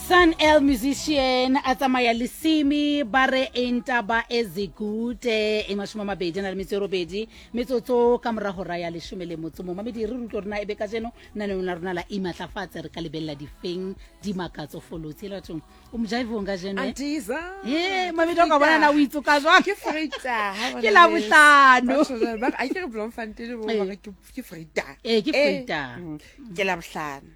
Sun El musician a tsamaya le Simi ba re Intaba Ezikude e 20 a na le metso e robedi metsotso ka mora hora ya leshome le motso momamedi re rutlo rona e be kajeno naneong la rona la imatlafatse re ka lebelela difeng dimakatso folotsi le bathong o mojaivong kajeno eh? Antiza. Ee, mamedi o ka bona na o itsoka jwang Ke Vrydag. ha Ke bona Labohlano. Batho jwale ba re, a ke re Bloemfontein bo Ee. ba re ke ke Vrydag. Ee, ke Vrydag. Ke Labohlano.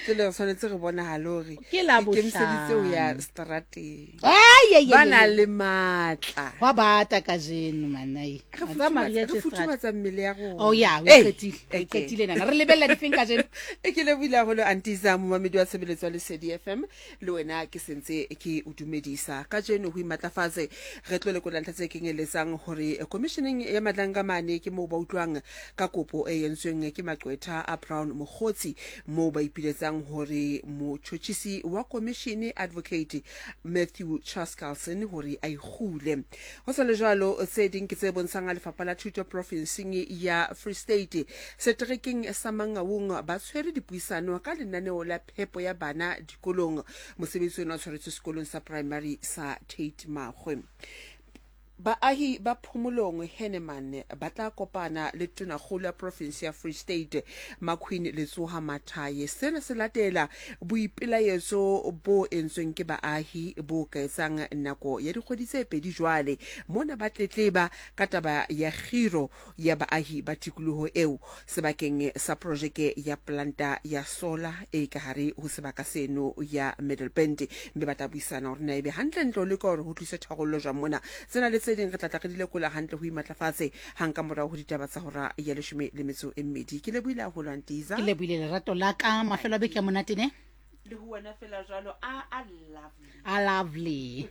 Tsele re tshwanetse re bonahale hore Ke Labohlano. ikemiseditse ho ya strateng. Ai, ai, ai, Ba na ai. le matla. Hwa bata kajeno manai. Re Wa tseba Maria futhumatsa- re tje strata. futhumatsa mmele ya rona. Oh ya, o Ee, qetile. O okay. qetile nana. Re lebella difeng kajeno? E ke lebohile haholo Antisa momamedi wa tshebeletso ya Lesedi FM le wena ke sentse ke o dumedisa kajeno ho imatlafatse re tlo lekola ntlha tse kenyeletsang hore komisheneng ya Madlanga mane ke moo ba utlwang ka kopo e entsweng ke maqwetha a Brown Mogotsi moo ba ipiletsang hore motjhotjhisi wa komishene Advocate Matthew Chaskalson hore a ikgule. Ho sa le jwalo, tse ding ke tse bontshang ha Lefapha la Thuto profinseng ya Free State seterekeng sa Mangaung ba tshwere dipuisano ka lenaneo la phepo ya bana dikolong. Mosebetsi ona o tshwaretswe sekolong sa primary sa Tate Makgwe. Baahi ba Phomolong Henneman ba tla kopana le Tonakgolo ya profinse ya Free State Maqueen Letsoha Mathaye. Sena se latela boipelaetso bo entsweng ke baahi bo ka etsang nako ya dikgwedi tse pedi jwale mona ba tletleba ka taba ya kgiro ya baahi ba tikoloho eo sebakeng sa projeke ya polanta ya sola e ka hare ho sebaka seno ya Middelpunt, mme ba tla buisana hore na ebe hantlentle ho leka hore ho tliswe tharollo jwang mona. Tsena le tse ding re tla tla re di lekola hantle ho imatlafatse hang ka morao ho ditaba tsa hora ya leshome le metso e mmedi. Ke lebohile haholo, Antiza. Ke lebohile lerato la ka. Mafelo a beke a monate ne? Le ho wena fela jwalo. A a lovely. A lovely.